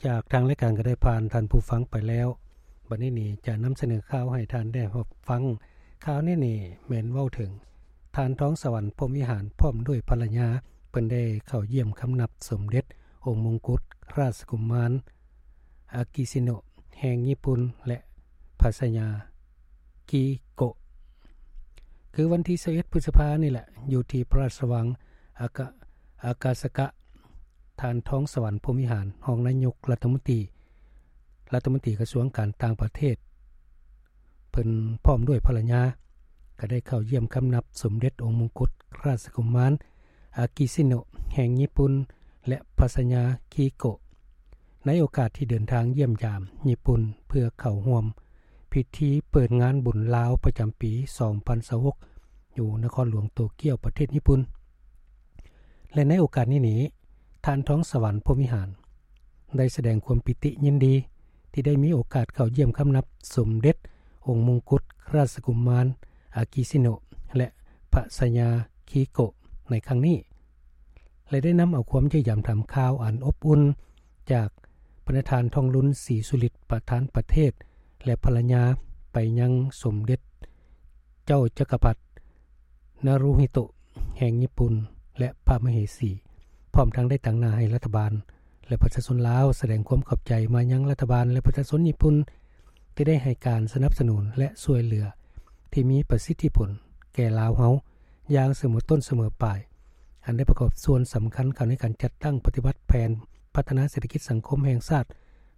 ຈາກທາງລາຍການກໍໄດ້ຜ່ານທ່ານຜູ້ຟັງໄປແລ້ວ. ບັດນີ້ນີ້ຈະນຳສະເໜີຂ່າວໃຫ້ທ່ານໄດ້ຮັບຟັງ. ຂ່າວນີ້ນີ້ແມ່ນເວົ້າເຖິງທ່ານ ທອງສະຫວັນ ພົມວິຫານ ພ້ອມດ້ວຍພັນລະຍາ ເພິ່ນໄດ້ເຂົ້າຢ້ຽມຄຳນັບສົມເດັດອົງມົງກຸດຣາຊກຸມານ ອາກິຊິໂນະ ແຫ່ງຍີ່ປຸ່ນ ແລະ ພັດຊະຍາ ຄີໂກະ ຄືວັນທີຊາວເອັດ ພຶດສະພານີ້ແຫຼະ ຢູ່ທີ່ພະລາຊະວັງອາກະ ອາກາສະກະ ທ່ານ ທອງສະຫວັນ ພົມວິຫານ ຮອງນາຍົກລັດຖະມົນຕີ ລັດຖະມົນຕີກະຊວງການຕ່າງປະເທດ ເພິ່ນພ້ອມດ້ວຍພັນລະຍາ ກໍໄດ້ເຂົ້າຢ້ຽມຄຳນັບສົມເດັດອົງມົງກຸດຣາຊກຸມານ ອາກິຊິໂນະ ແຫ່ງຍີ່ປຸ່ນ ແລະ ພັດຊະຍາ ຄີໂກະ ໃນໂອກາດທີ່ເດີນທາງຢ້ຽມຢາມຍີ່ປຸ່ນ ເພື່ອເຂົ້າຮ່ວມພິທີເປີດງານບຸນລາວປະຈຳປີສອງພັນຊາວຫົກ ຢູ່ນະຄອນຫຼວງໂຕກຽວ ປະເທດຍີ່ປຸ່ນ. ແລະ ໃນໂອກາດນີ້ນີ້ ທ່ານ ທອງສະຫວັນ ພົມວິຫານ ໄດ້ສະແດງຄວາມປີຕິຍິນດີ ທີ່ໄດ້ມີໂອກາດເຂົ້າຢ້ຽມຄຳນັບສົມເດັດອົງມົງກຸດຣາຊກຸມານ ອາກິຊິໂນະ ແລະ ພັດຊະຍາ ຄີໂກະ ໃນຄັ້ງນີ້ ແລະ ໄດ້ນຳເອົາຄວາມຢ້ຽມຢາມຖາມຂ່າວອັນອົບອຸ່ນຈາກບັນດາທ່ານ ທອງລຸນ ສີສຸລິດ ປະທານປະເທດ ແລະ ພັນລະຍາ ໄປຍັງສົມເດັດເຈົ້າຈັກກະພັດ ນາຣູຮິໂຕະ ແຫ່ງຍີ່ປຸ່ນ ແລະ ພະມະເຫສີ ພ້ອມທັງໄດ້ຕາງໜ້າໃຫ້ລັດຖະບານ ແລະ ປະຊາຊົນລາວ ສະແດງຄວາມຂອບໃຈມາຍັງລັດຖະບານ ແລະ ປະຊາຊົນຍີ່ປຸ່ນ ທີ່ໄດ້ໃຫ້ການສະໜັບສະໜູນ ແລະ ຊ່ວຍເຫຼືອທີ່ມີປະສິດທິຜົນແກ່ລາວເຮົາຢ່າງສະເໝີຕົ້ນສະເໝີປາຍ, ອັນໄດ້ປະກອບສ່ວນສຳຄັນເຂົ້າໃນການຈັດຕັ້ງປະຕິບັດແຜນພັດທະນາເສດຖະກິດສັງຄົມແຫ່ງຊາດ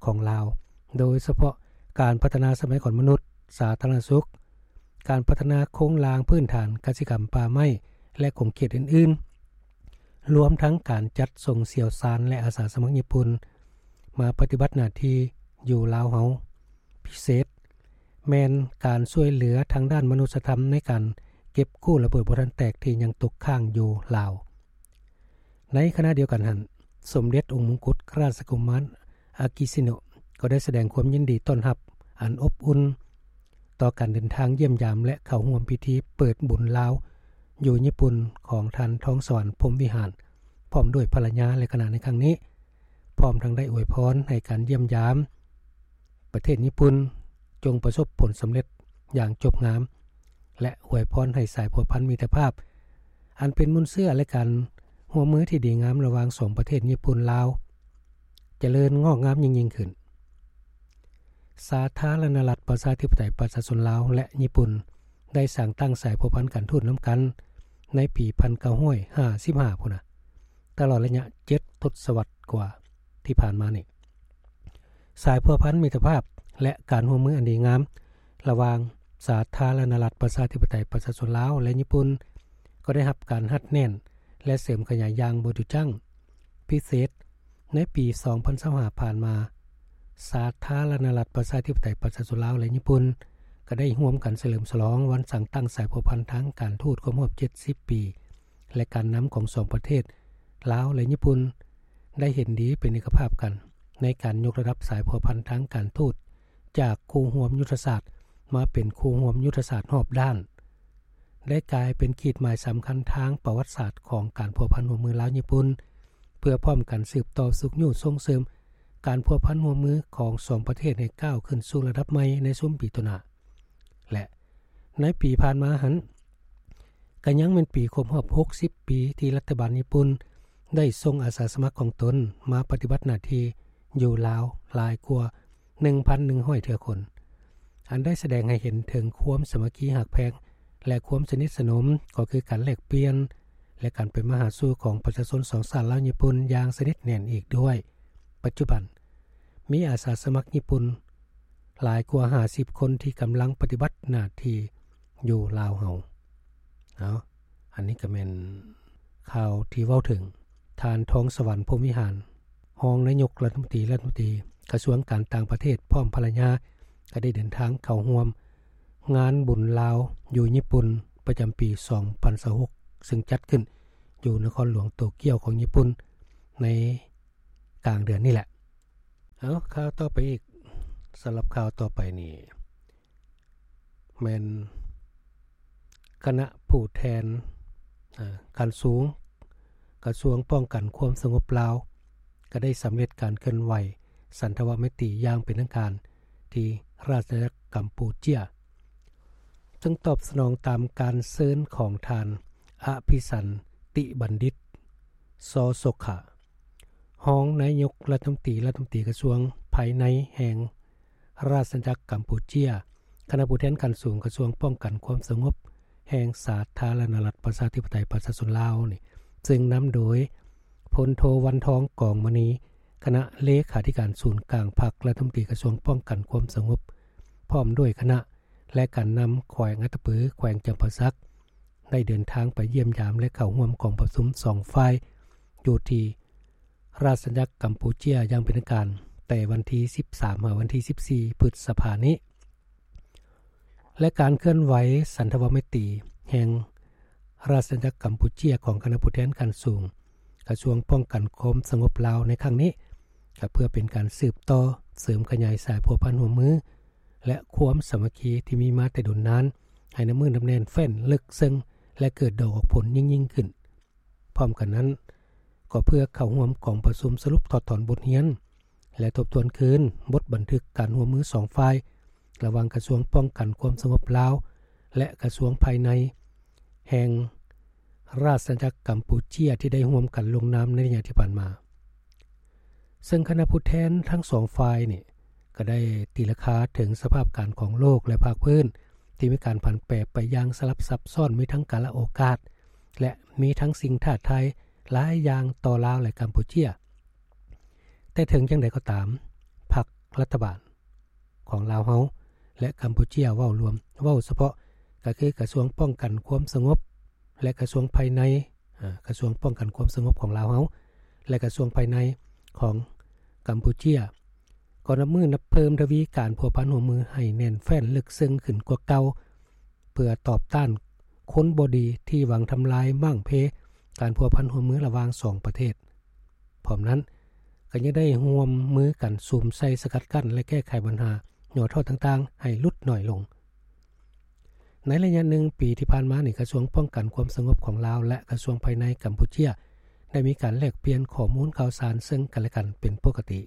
ຂອງລາວ, ໂດຍສະເພາະການພັດທະນາຊັບພະຍາກອນມະນຸດ, ສາທາລະນະສຸກ, ການພັດທະນາໂຄງລ່າງພື້ນຖານກະສິກຳ, ປ່າໄມ້ ແລະ ຂົງເຂດອື່ນໆ, ລວມທັງການຈັດສົ່ງຊ່ຽວຊານ ແລະ ອາສາສະໝັກຍີ່ປຸ່ນມາປະຕິບັດໜ້າທີ່ຢູ່ລາວເຮົາ. ພິເສດແມ່ນການຊ່ວຍເຫຼືອທາງດ້ານມະນຸດສະທຳໃນການເກັບກູ້ລະເບີດບໍ່ທັນແຕກທີ່ຍັງຕົກຄ້າງຢູ່ລາວ. ໃນຂະນະດຽວກັນຫັ້ນ, ສົມເດັດອົງມົງກຸດຣາຊະກຸມານ ອາກິຊິໂນະ ກໍໄດ້ສະແດງຄວາມຍິນດີຕ້ອນຮັບອັນອົບອຸ່ນ ຕໍ່ການເດີນທາງຢ້ຽມຢາມ ແລະ ເຂົ້າຮ່ວມພິທີເປີດບຸນລາວຢູ່ຍີ່ປຸ່ນຂອງທ່ານ ທອງສະຫວັນ ພົມວິຫານ ພ້ອມດ້ວຍພັນລະຍາ ແລະ ຄະນະໃນຄັ້ງນີ້, ພ້ອມທັງໄດ້ອວຍພອນໃຫ້ການຢ້ຽມຢາມປະເທດຍີ່ປຸ່ນຈົ່ງປະສົບຜົນສຳເລັດຢ່າງຈົບງາມ ແລະ ອວຍພອນໃຫ້ສາຍພົວພັນມິດຕະພາບ ອັນເປັນມູນເຊື້ອ ແລະ ການຮ່ວມມືທີ່ດີງາມລະຫວ່າງສອງປະເທດຍີ່ປຸ່ນ-ລາວ ຈະເລີນງອກງາມຍິ່ງໆຂຶ້ນ. ສາທາລະນະລັດປະຊາທິປະໄຕປະຊາຊົນລາວ ແລະ ຍີ່ປຸ່ນ ໄດ້ສ້າງຕັ້ງສາຍພົວພັນການທູດນຳກັນໃນປີພັນເກົ້າຮ້ອຍຫ້າສິບຫ້າພຸ້ນນະ, ຕະຫຼອດໄລຍະເຈັດທົດສະວັດກວ່າທີ່ຜ່ານມານີ້. ສາຍພົວພັນມິດຕະພາບ ແລະ ການຮ່ວມມືອັນດີງາມລະຫວ່າງສາທາລະນະລັດປະຊາທິປະໄຕປະຊາຊົນລາວ ແລະ ຍີ່ປຸ່ນ ກໍໄດ້ຮັບການຮັດແໜ້ນ ແລະ ເສີມຂະຫຍາຍຢ່າງບໍ່ຢຸດຢັ້ງ. ພິເສດ, ໃນປີສອງພັນຊາວຫ້າຜ່ານມາ, ສາທາລະນະລັດປະຊາທິປະໄຕປະຊາຊົນລາວ ແລະ ຍີ່ປຸ່ນ ກໍໄດ້ຮ່ວມກັນສະເຫຼີມສະຫຼອງວັນສ້າງຕັ້ງສາຍພົວພັນທາງການທູດຄົບຮອບເຈັດສິບປີ ແລະ ການນຳຂອງສອງປະເທດ ລາວ ແລະ ຍີ່ປຸ່ນ ໄດ້ເຫັນດີເປັນເອກະພາບກັນ ໃນການຍົກລະດັບສາຍພົວພັນທາງການທູດ ຈາກຄູ່ຮ່ວມຍຸດທະສາດມາເປັນຄູ່ຮ່ວມຍຸດທະສາດຮອບດ້ານ, ໄດ້ກາຍເປັນຂີດໝາຍສຳຄັນທາງປະຫວັດສາດຂອງການພົວພັນຮ່ວມມືລາວ-ຍີ່ປຸ່ນ ເພື່ອພ້ອມກັນສືບຕໍ່ຊຸກຍູ້ສົ່ງເສີມການພົວພັນຮ່ວມມືຂອງສອງປະເທດໃຫ້ກ້າວຂຶ້ນສູ່ລະດັບໃໝ່ໃນຊຸມປີຕໍ່ໜ້າ. ແລະ ໃນປີຜ່ານມາຫັ້ນ ກໍຍັງແມ່ນປີຄົບຮອບຫົກສິບປີທີ່ລັດຖະບານຍີ່ປຸ່ນໄດ້ສົ່ງອາສາສະໝັກຂອງຕົນມາປະຕິບັດໜ້າທີ່ຢູ່ລາວຫຼາຍກວ່າໜຶ່ງພັນໜຶ່ງຮ້ອຍເທື່ອຄົນ, ອັນໄດ້ສະແດງໃຫ້ເຫັນເຖິງຄວາມສາມັກຄີຮັກແພງ ແລະ ຄວາມສະໜິດສະໜົມ, ກໍຄືການແລກປ່ຽນ ແລະ ການໄປມາຫາສູ່ຂອງປະຊາຊົນສອງຊາດລາວຍີ່ປຸ່ນຢ່າງສະໜິດແໜ້ນອີກດ້ວຍ. ປັດຈຸບັນ ມີອາສາສະໝັກຍີ່ປຸ່ນຫຼາຍກວ່າຫ້າສິບຄົນທີ່ກຳລັງປະຕິບັດໜ້າທີ່ຢູ່ລາວເຮົາ. ເອົາ, ອັນນີ້ກໍແມ່ນຂ່າວທີ່ເວົ້າເຖິງທ່ານ ທອງສະຫວັນ ພົມວິຫານ ຮອງນາຍົກລັດຖະມົນຕີ ລັດຖະມົນຕີກະຊວງການຕ່າງປະເທດ ພ້ອມພັນລະຍາ ກໍໄດ້ເດີນທາງເຂົ້າຮ່ວມງານບຸນລາວຢູ່ຍີ່ປຸ່ນປະຈຳປີສອງພັນຊາວຫົກ ຊຶ່ງຈັດຂຶ້ນຢູ່ນະຄອນຫຼວງໂຕກຽວຂອງຍີ່ປຸ່ນໃນ ກາງເດືອນນີ້ແຫຼະ. ເອົາ, ຂ່າວຕໍ່ໄປອີກ, ສຳລັບຂ່າວຕໍ່ໄປນີ້ ແມ່ນຄະນະຜູ້ແທນ, ເອີ, ຂັ້ນສູງ ກະຊວງປ້ອງກັນຄວາມສະຫງົບລາວ ກໍໄດ້ສຳເລັດການເຄື່ອນໄຫວ ສັນທະວະໄມຕີຢ່າງເປັນທາງການທີ່ລາຊະອານາຈັກກຳປູເຈຍ, ເຊິ່ງຕອບສະໜອງຕາມການເຊີນຂອງທ່ານ ອະພິສັນຕິບັນດິດ ຊອສົກຂະ ຮອງນາຍົກລັດຖະມົນຕີ, ລັດຖະມົນຕີກະຊວງພາຍໃນແຫ່ງລາຊະອານາຈັກກຳປູເຈຍ, ຄະນະຜູ້ແທນຂັ້ນສູງກະຊວງປ້ອງກັນຄວາມສະຫງົບແຫ່ງສາທາລະນະລັດປະຊາທິປະໄຕປະຊາຊົນລາວນີ້ ເຊິ່ງນຳໂດຍ ພົນໂທ ວັນທອງ ກອງມະນີ ຄະນະເລຂາທິການສູນກາງພັກ, ລັດຖະມົນຕີກະຊວງປ້ອງກັນຄວາມສະຫງົບ ພ້ອມດ້ວຍຄະນະ ແລະ ການນຳແຂວງອັດຕະປື, ແຂວງຈຳປາສັກ ໄດ້ເດີນທາງໄປຢ້ຽມຢາມ ແລະ ເຂົ້າຮ່ວມກອງປະຊຸມສອງຝ່າຍ ຢູ່ທີ່ລາຊະອານາຈັກກຳປູເຈຍຢ່າງເປັນທາງການ ແຕ່ວັນທີສິບສາມ ຫາ ວັນທີສິບສີ່ ພຶດສະພານີ້. ແລະ ການເຄື່ອນໄຫວສັນທະວະໄມຕີແຫ່ງລາຊະອານາຈັກກຳປູເຈຍຂອງຄະນະຜູ້ແທນຂັ້ນສູງກະຊວງປ້ອງກັນຄວາມສະຫງົບລາວໃນຄັ້ງນີ້ ກໍເພື່ອເປັນການສືບຕໍ່ເສີມຂະຫຍາຍສາຍພົວພັນຮ່ວມມື ແລະ ຄວາມສາມັກຄີທີ່ມີມາແຕ່ດົນນານ ໃຫ້ໜັກແໜ້ນແຟ້ນເລິກເຊິ່ງ ແລະ ເກີດດອກອອກຜົນຍິ່ງໆຂຶ້ນ. ພ້ອມກັນນັ້ນ ກໍເພື່ອເຂົ້າຮ່ວມກອງປະຊຸມສະຫຼຸບຖອດຖອນບົດຮຽນ ແລະ ທົບທວນຄືນບົດບັນທຶກການຮ່ວມມືສອງຝ່າຍ ລະຫວ່າງກະຊວງປ້ອງກັນຄວາມສະຫງົບລາວ ແລະ ກະຊວງພາຍໃນແຫ່ງລາຊະອານາຈັກກຳປູເຈຍ ທີ່ໄດ້ຮ່ວມກັນລົງນາມໃນໄລຍະທີ່ຜ່ານມາ. ເຊິ່ງຄະນະຜູ້ແທນທັງສອງຝ່າຍນີ້ ກໍໄດ້ຕີລາຄາເຖິງສະພາບການຂອງໂລກ ແລະ ພາກພື້ນ ທີ່ມີການຜັນແປໄປຢ່າງສະຫຼັບຊັບຊ້ອນ, ມີທັງກາລະໂອກາດ ແລະ ມີທັງສິ່ງທ້າທາຍຫຼາຍຢ່າງຕໍ່ລາວ ແລະ ກຳປູເຈຍ. ແຕ່ເຖິງຢ່າງໃດກໍຕາມ, ພັກລັດຖະບານຂອງລາວເຮົາ ແລະ ກຳປູເຈຍເວົ້າລວມ, ເວົ້າສະເພາະກໍຄືກະຊວງປ້ອງກັນຄວາມສະຫງົບ ແລະ ກະຊວງພາຍໃນ, ອາ, ກະຊວງປ້ອງກັນຄວາມສະຫງົບຂອງລາວເຮົາ ແລະ ກະຊວງພາຍໃນຂອງກຳປູເຈຍ ກໍນັບມື້ນັບເພີ່ມທະວີການພົວພັນຮ່ວມມືໃຫ້ແໜ້ນແຟ້ນເລິກເຊິ່ງຂຶ້ນກວ່າເກົ່າ ເພື່ອຕອບຕ້ານຄົນບໍ່ດີທີ່ຫວັງທຳລາຍມ້າງເພການພົວພັນຮ່ວມມືລະຫວ່າງສອງປະເທດ. ພ້ອມນັ້ນ ກໍຍັງໄດ້ຮ່ວມມືກັນສຸມໃສ່ສະກັດກັ້ນ ແລະ ແກ້ໄຂບັນຫາຫຍໍ້ທໍ້ຕ່າງໆໃຫ້ຫຼຸດໜ້ອຍລົງ. ໃນໄລຍະໜຶ່ງປີທີ່ຜ່ານມານີ້, ກະຊວງປ້ອງກັນຄວາມສະຫງົບຂອງລາວ ແລະ ກະຊວງພາຍໃນກຳປູເຈຍ ໄດ້ມີການແລກປ່ຽນຂໍ້ມູນຂ່າວສານເຊິ່ງກັນ ແລະ ກັນເປັນປົກກະຕິ.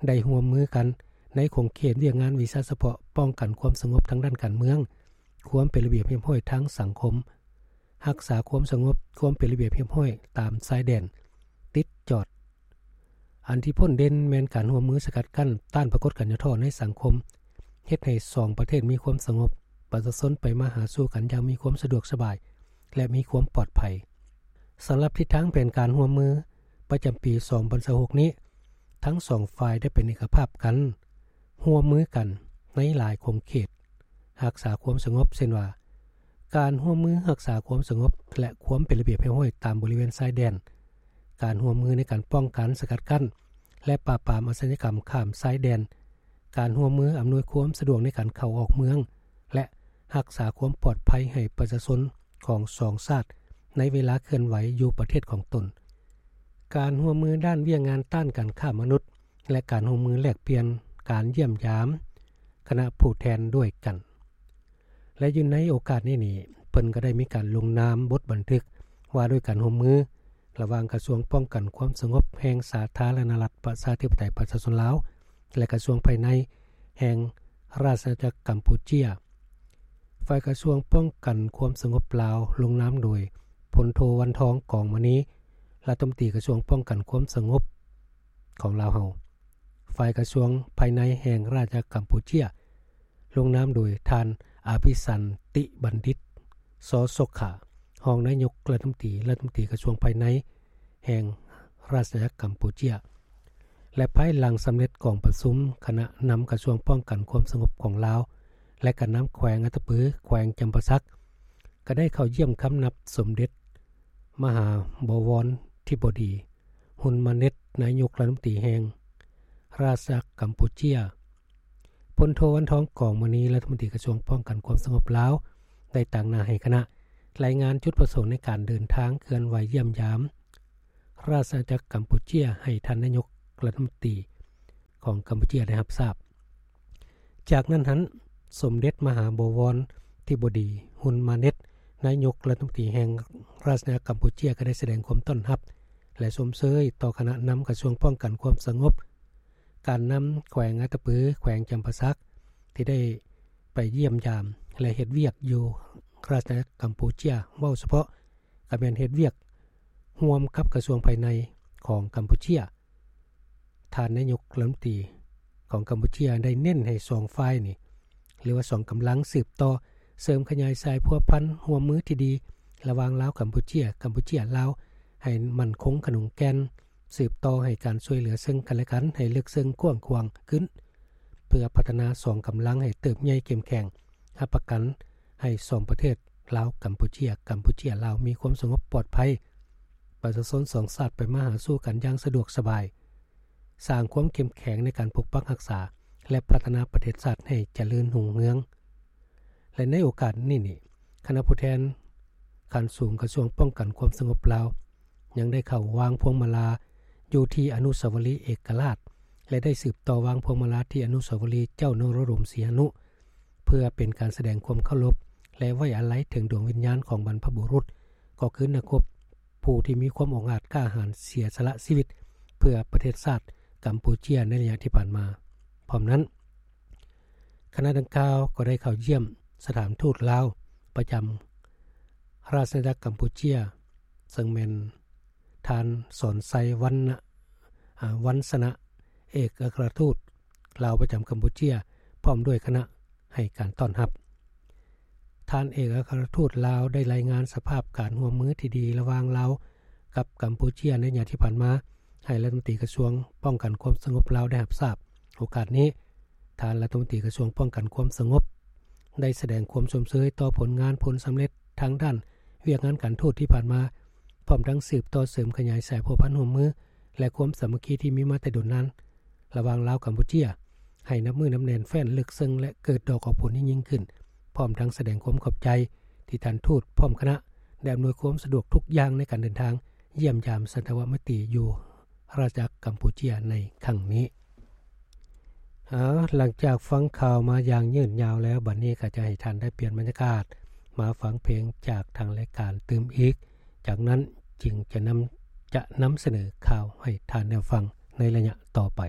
ໄດ້ຮ່ວມມືກັນໃນຂົງເຂດວຽກງານວິຊາສະເພາະປ້ອງກັນຄວາມສະຫງົບທາງດ້ານການເມືອງ, ຄວາມເປັນລະບຽບຮຽບຮ້ອຍທາງສັງຄົມ, ຮັກສາຄວາມສະຫງົບ, ຄວາມເປັນລະບຽບຮຽບຮ້ອຍຕາມຊາຍແດນ, ຕິດຈອດ. ອັນທີ່ພົ້ນເດັ່ນແມ່ນການຮ່ວມມືສະກັດກັ້ນຕ້ານປາກົດການຫຍໍ້ທໍ້ໃນສັງຄົມ, ເຮັດໃຫ້ສອງປະເທດມີຄວາມສະຫງົບ, ປະຊາຊົນໄປມາຫາສູ່ກັນຢ່າງມີຄວາມສະດວກສະບາຍ ແລະ ມີຄວາມປອດໄພ. ສຳລັບທິດທາງແຜນການຮ່ວມມືປະຈຳປີສອງພັນຊາວຫົກນີ້, ທັງສອງຝ່າຍໄດ້ເປັນເອກະພາບກັນ, ຮ່ວມມືກັນໃນຫຼາຍຂົງເຂດຮັກສາຄວາມສະຫງົບ, ເຊັ່ນວ່າ ການຮ່ວມມືຮັກສາຄວາມສະຫງົບ ແລະ ຄວາມເປັນລະບຽບຮຽບຮ້ອຍຕາມບໍລິເວນຊາຍແດນ, ການຮ່ວມມືໃນການປ້ອງກັນ, ສະກັດກັ້ນ ແລະ ປາບປາມອາຊະຍາກຳຂ້າມຊາຍແດນ, ການຮ່ວມມືອຳນວຍຄວາມສະດວກໃນການເຂົ້າອອກເມືອງ ແລະ ຮັກສາຄວາມປອດໄພໃຫ້ປະຊາຊົນຂອງສອງຊາດໃນເວລາເຄື່ອນໄຫວຢູ່ປະເທດຂອງຕົນ, ການຮ່ວມມືດ້ານວຽກງານຕ້ານການຄ້າມະນຸດ ແລະ ການຮ່ວມມືແລກປ່ຽນການຢ້ຽມຢາມຄະນະຜູ້ແທນດ້ວຍກັນ. ແລະ ຢູ່ໃນໂອກາດນີ້ນີ້, ເພິ່ນກໍໄດ້ມີການລົງນາມບົດບັນທຶກວ່າດ້ວຍການຮ່ວມມືລະຫວ່າງກະຊວງປ້ອງກັນຄວາມສະຫງົບແຫ່ງສາທາລະນະລັດປະຊາທິປະໄຕປະຊາຊົນລາວ ແລະ ກະຊວງພາຍໃນແຫ່ງລາຊະອານາຈັກກຳປູເຈຍ. ຝ່າຍກະຊວງປ້ອງກັນຄວາມສະຫງົບລາວ ລົງນາມໂດຍ ພົນໂທ ວັນທອງ ກອງມະນີ ລັດຖະມົນຕີກະຊວງປ້ອງກັນຄວາມສະຫງົບຂອງລາວເຮົາ. ຝ່າຍກະຊວງພາຍໃນແຫ່ງລາຊະອານາຈັກກຳປູເຈຍ ລົງນາມໂດຍທ່ານ ອະພິສັນຕິບັນດິດ ຊອສົກຂະ ຮອງນາຍົກລັດຖະມົນຕີ, ລັດຖະມົນຕີກະຊວງພາຍໃນແຫ່ງລາຊະອານາຈັກກຳປູເຈຍ. ແລະ ພາຍຫຼັງສຳເລັດກອງປະຊຸມ, ຄະນະນຳກະຊວງປ້ອງກັນຄວາມສະຫງົບຂອງລາວ ແລະ ການນຳແຂວງອັດຕະປື, ແຂວງຈຳປາສັກ ກໍໄດ້ເຂົ້າຢ້ຽມຄຳນັບສົມເດັດມະຫາບໍວອນທິບໍດີ ຮຸນມາເນັດ ນາຍົກລັດຖະມົນຕີແຫ່ງລາຊະອານາຈັກກຳປູເຈຍ. ພົນໂທ ວັນທອງ ກອງມະນີ ລັດຖະມົນຕີກະຊວງປ້ອງກັນຄວາມສະຫງົບລາວ ໄດ້ຕາງໜ້າໃຫ້ຄະນະລາຍງານຈຸດປະສົງໃນການເດີນທາງເຄື່ອນໄຫວຢ້ຽມຢາມລາຊະອານາຈັກກຳປູເຈຍ ໃຫ້ທ່ານນາຍົກລັດຖະມົນຕີຂອງກຳປູເຈຍໄດ້ຮັບຊາບ. ຈາກນັ້ນຫັ້ນ, ສົມເດັດມະຫາບໍວອນທິບໍດີ ຮຸນມາເນັດ ນາຍົກລັດຖະມົນຕີແຫ່ງລາຊະອານາຈັກກຳປູເຈຍ ກໍໄດ້ສະແດງຄວາມຕ້ອນຮັບ ແລະ ຊົມເຊີຍຕໍ່ຄະນະນຳກະຊວງປ້ອງກັນຄວາມສະຫງົບ ການນຳແຂວງອັດຕະປື ແຂວງຈຳປາສັກ ທີ່ໄດ້ໄປຢ້ຽມຢາມ ແລະ ເຮັດວຽກຢູ່ຣາຊອານາຈັກກຳປູເຈຍ ເວົ້າສະເພາະກໍແມ່ນເຮັດວຽກຮ່ວມກັບກະຊວງພາຍໃນຂອງກຳປູເຈຍ. ທ່ານນາຍົກລັດຖະມົນຕີຂອງກຳປູເຈຍ ໄດ້ເນັ້ນໃຫ້ສອງຝ່າຍນີ້ ຫຼືວ່າສອງກຳລັງສືບຕໍ່ເສີມຂະຫຍາຍສາຍພົວພັນຮ່ວມມືທີ່ດີ ລະຫວ່າງລາວ-ກຳປູເຈຍ, ກຳປູເຈຍ-ລາວ ໃຫ້ໝັ້ນຄົງຂະໜົງແກ່ນ, ສືບຕໍ່ໃຫ້ການຊ່ວຍເຫຼືອເຊິ່ງກັນແລະກັນໃຫ້ເລິກເຊິ່ງກວ້າງຂວາງຂຶ້ນ ເພື່ອພັດທະນາສອງກຳລັງໃຫ້ເຕີບໃຫຍ່ເຂັ້ມແຂງ, ຮັບປະກັນໃຫ້ສອງປະເທດ ລາວ-ກຳປູເຈຍ, ກຳປູເຈຍ-ລາວ ມີຄວາມສະຫງົບປອດໄພ, ປະຊາຊົນສອງຊາດໄປມາຫາສູ່ກັນຢ່າງສະດວກສະບາຍ, ສ້າງຄວາມເຂັ້ມແຂງໃນການປົກປັກຮັກສາ ແລະ ພັດທະນາປະເທດຊາດໃຫ້ຈະເລີນຮຸ່ງເຮືອງ. ແລະ ໃນໂອກາດນີ້ນີ້ ຄະນະຜູ້ແທນຂັ້ນສູງກະຊວງປ້ອງກັນຄວາມສະຫງົບລາວ ຍັງໄດ້ເຂົ້າວາງພວງມາລາຢູ່ທີ່ອະນຸສາວະລີເອກະລາດ ແລະ ໄດ້ສືບຕໍ່ວາງພວງມາລາທີ່ອະນຸສາວະລີເຈົ້ານະໂຣດົມສີຫະນຸ ເພື່ອເປັນການສະແດງຄວາມເຄົາລົບ ແລະ ໄວ້ອາໄລເຖິງດວງວິນຍານຂອງບັນພະບຸລຸດ ກໍຄືນັກຮົບຜູ້ທີ່ມີຄວາມອົງອາດກ້າຫານເສຍສະຫຼະຊີວິດ ເພື່ອປະເທດຊາດກຳປູເຈຍໃນໄລຍະທີ່ຜ່ານມາ. ພ້ອມນັ້ນ ຄະນະດັ່ງກ່າວກໍໄດ້ເຂົ້າຢ້ຽມສະຖານທູດລາວປະຈຳ ຣາຊອານາຈັກກຳປູເຈຍ ເຊິ່ງແມ່ນທ່ານ ສອນໄຊ ວັນນະ ອາ ວັນຊະນະ ເອກອັກຄະລັດທູດລາວປະຈຳກຳປູເຈຍ ພ້ອມດ້ວຍຄະນະໃຫ້ການຕ້ອນຮັບ. ທ່ານເອກອັກຄະລັດທູດລາວໄດ້ລາຍງານສະພາບການຮ່ວມມືທີ່ດີລະຫວ່າງລາວກັບກຳປູເຈຍໃນໄລຍະທີ່ຜ່ານມາ ໃຫ້ລັດຖະມົນຕີກະຊວງປ້ອງກັນຄວາມສະຫງົບລາວໄດ້ຮັບຊາບ. ໂອກາດນີ້ ທ່ານລັດຖະມົນຕີກະຊວງປ້ອງກັນຄວາມສະຫງົບ ໄດ້ສະແດງຄວາມຊົມເຊີຍຕໍ່ຜົນງານຜົນສຳເລັດທາງດ້ານວຽກງານການທູດທີ່ຜ່ານມາ, ພ້ອມທັງສືບຕໍ່ເສີມຂະຫຍາຍສາຍພົວພັນຮ່ວມມື ແລະ ຄວາມສາມັກຄີທີ່ມີມາແຕ່ດົນນານ ລະຫວ່າງລາວ-ກຳປູເຈຍ ໃຫ້ນັບມື້ນັບແໜ້ນແຟ້ນເລິກເຊິ່ງ ແລະ ເກີດດອກອອກຜົນທີ່ຍິ່ງຂຶ້ນ, ພ້ອມທັງສະແດງຄວາມຂອບໃຈທີ່ທ່ານທູດພ້ອມຄະນະ ໄດ້ອຳນວຍຄວາມສະດວກທຸກຢ່າງໃນການເດີນທາງຢ້ຽມຢາມສັນທະວະໄມຕີຢູ່ ຣາຊອານາຈັກກຳປູເຈຍໃນຄັ້ງນີ້. ເອົາ ຫຼັງຈາກຟັງຂ່າວມາຢ່າງຍືດຍາວແລ້ວ, ບັດນີ້ກໍຈະໃຫ້ທ່ານໄດ້ປ່ຽນບັນຍາກາດມາຟັງເພງຈາກທາງລາຍການຕື່ມອີກ, ຈາກນັ້ນຈຶ່ງຈະນຳ ຈະນຳສະເໜີຂ່າວໃຫ້ທ່ານໄດ້ຟັງໃນໄລຍະຕໍ່ໄປ.